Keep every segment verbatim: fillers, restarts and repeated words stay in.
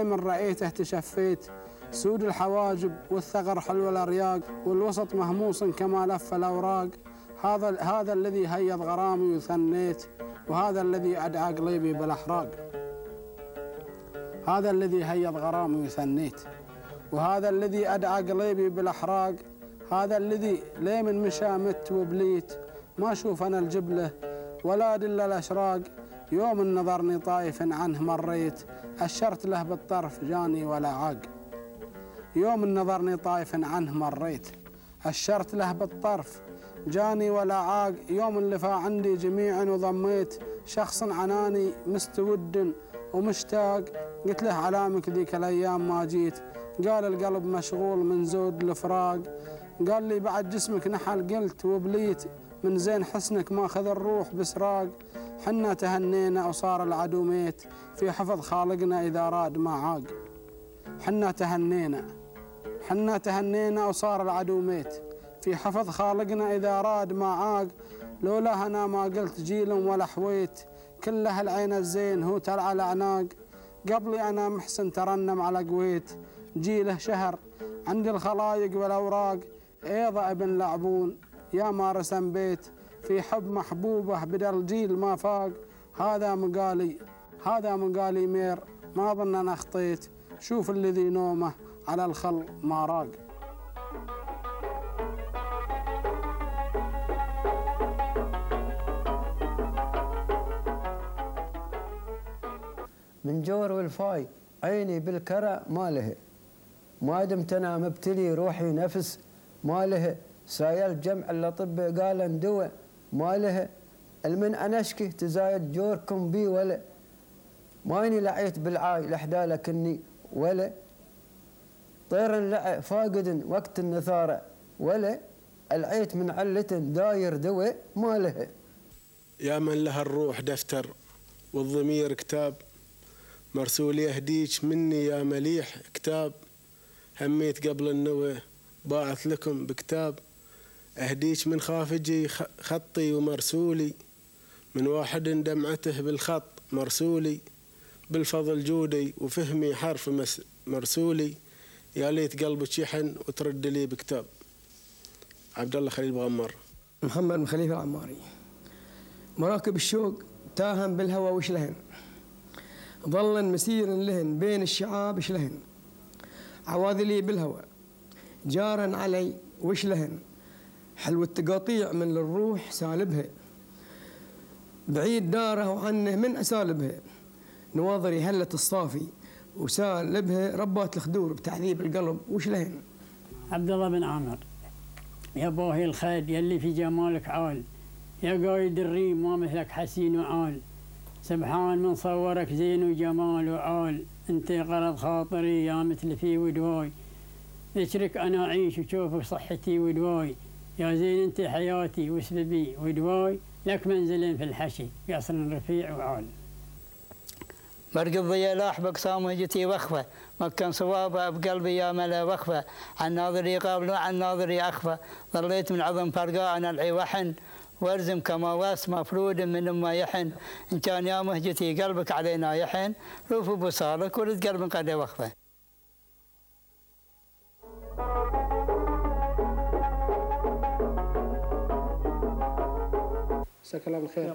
من رأيته تشفيت، سود الحواجب والثغر حلو الأرياق، والوسط مهموس كما لف الأوراق. هذا هذا الذي هيض غرامي وثنيت، وهذا الذي أدعى قلبي بالأحراق. هذا الذي هيض غرامي وثنيت، وهذا الذي أدعى قلبي بالأحراق. هذا الذي ليه من مشى مت وبليت، ما أشوف أنا الجبلة ولا أدل الأشراق. يوم نظرني طايف عنه مريت، أشرت له بالطرف جاني ولا عاق. يوم نظرني طايف عنه مريت، أشرت له بالطرف جاني ولا عاق. يوم اللي فا عندي جميعا وضميت، شخص عناني مستود ومشتاق. قلت له علامك ذيك الأيام ما جيت، قال القلب مشغول من زود الفراق. قال لي بعد جسمك نحل، قلت وبليت من زين حسنك ماخذ الروح بسراق. حنا تهنينا وصار العدو ميت، في حفظ خالقنا إذا راد ما عاق. حنا تهنينا حنا تهنينا وصار العدو ميت، في حفظ خالقنا إذا راد ما عاق. لولا أنا ما قلت جيل ولا حويت، كله العين الزين هو تلع الأعناق. قبلي أنا محسن ترنم على قويت، جيله شهر عند الخلايق والأوراق. أيضا ابن لعبون يا ما رسم بيت، في حب محبوبه بدل جيل ما فاق. هذا مقالي هذا مقالي مير، ما ظن أنا أخطيت، شوف الذي نومه على الخل ما راق. من جور والفاي عيني بالكرى ما له، ما دمت انا مبتلي روحي نفس ما له. سايل جمع الاطباء قال اندوى ما له، المن انا اشكي تزايد جوركم بي ولا. ماني لعيت بالعاي لحدا لكني ولا، طير اللع فاقد وقت النثاره ولا. العيت من علة داير دوى ما له. يا من لها الروح دفتر والضمير كتاب، مرسول يهديك مني يا مليح كتاب. هميت قبل النوى باعث لكم بكتاب، أهديك من خافجي خطي ومرسولي، من واحد دمعته بالخط مرسولي. بالفضل جودي وفهمي حرف مرسولي، يا ليت قلبك يحن وترد لي بكتاب. عبد الله خليل بغمر. محمد بن خليفة العماري. مراكب الشوق تاهم بالهوى وش لهن، ظلا مسير لهن بين الشعاب ايش لهن. عواذلي بالهوى جارا علي وش لهن، حلو التقاطيع من الروح سالبها، بعيد داره وعنه من أسالبها. نواظري هلة الصافي وسالبها، ربات الخدور بتعذيب القلب وش لهن. عبد الله بن عامر. يا باهي الخيل يلي في جمالك عال، يا قايد الريم ما مثلك حسين وعال. سبحان من صورك زين وجمال وعال، انت غرض خاطري يا مثل في ودواي. ذكرك انا اعيش وشوفك صحتي ودواي، يا زين انت حياتي وسببي ودواي. لك منزل في الحشي قصر رفيع وعال. برق الضياء لاح بقسام وجتي وخفه، مكن صوابه بقلبي يا ملا وخفه. عن ناظري قابل وعن ناظري اخفه، ظليت من عظم فرقاء انا العي وحن، وارزم كما واس مفرود من ما يحن. ان كان يا مهجتي قلبك علينا يحن، روف بصالك ورد قلب قد وخفه. مساك الله بالخير.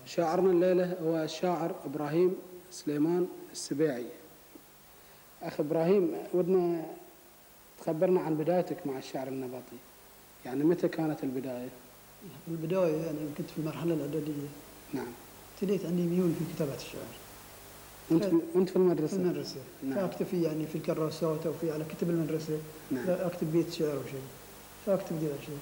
شاعرنا الليلة هو الشاعر إبراهيم سليمان السبيعي. أخ إبراهيم، ودنا تخبرنا عن بدايتك مع الشعر النبطي، يعني متى كانت البداية؟ في البداية يعني كنت في المرحلة الإعدادية. نعم. ابتديت عندي ميول في كتابة الشعر. وأنت وأنت في المدرسة؟ في المدرسة. نعم. فأكتفي يعني في الكراسات أو في على كتب المدرسة. نعم. أكتب بيت شعر أو شيء. فأكتب ذا الشيء.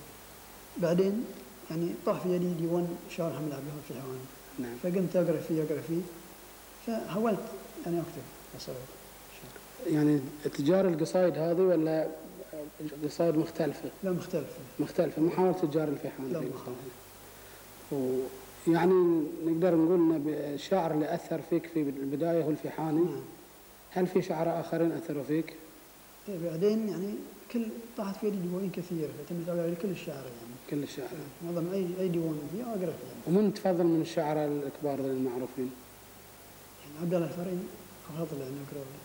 بعدين يعني طاح في يدي ديوان شعر حمد عبد الوهاب الفيحاني. نعم. فقمت أقرأ فيه أقرأ فيه فحاولت يعني أكتب قصائد. يعني تجار القصائد هذه ولا قصائد مختلفة؟ لا مختلفة. مختلفة، مو حاولت تجار الفيحاني. لا مختلفة. ويعني نقدر نقول ان الشاعر اللي أثر فيك في البداية هو الفيحاني. نعم. هل في شعراء آخرين أثروا فيك؟ بعدين يعني كل طاحت في يدي ديوان كثيرة، اعتمدت على كل الشعراء يعني. كل الشعراء. معظم أي أي ديوان فيه أقرأ فيه. يعني. ومن تفضل من الشعراء الكبار المعروفين؟ يعني عبد الله الفرين أفضل يعني أقرأ له.